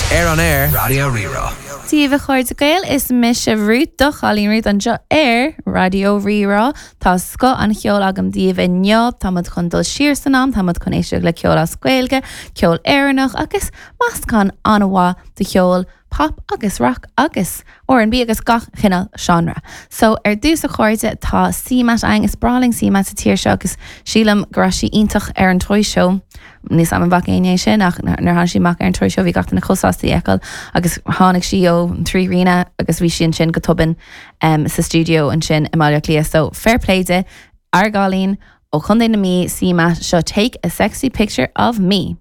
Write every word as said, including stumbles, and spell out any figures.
Ar on air Raidió Rí-Rá. Dia daoibh a chairde Gael is mise Ruth do chailín Ruth anseo ar Raidió Rí-Rá Tá scoth an cheoil agam daoibh inniu Táimid chun dul siar san am táimid chun éisteacht le ceol as Gaeilge, ceol Éireannach agus meascán an-mhaith de cheol pop agus rock agus R and B agus gach cineál genre. So ar dtús a chairde tá CMAT ang is breá linn CMAT sa tír seo agus sílim go raibh sí iontach ar an Toy Show. Ní am bh éine sin ach nar tháinig sí amach ar an Toy Show bhí gach duine chomh sásta í a fheiceáil agus tháinig sí ó trí rína agus bhí sí ansin go tobann um, sa studio ansin i Baile Átha Cliath. So fair play di ár gcailín ó Chontae na Mí CMAT seo take a sexy picture of me.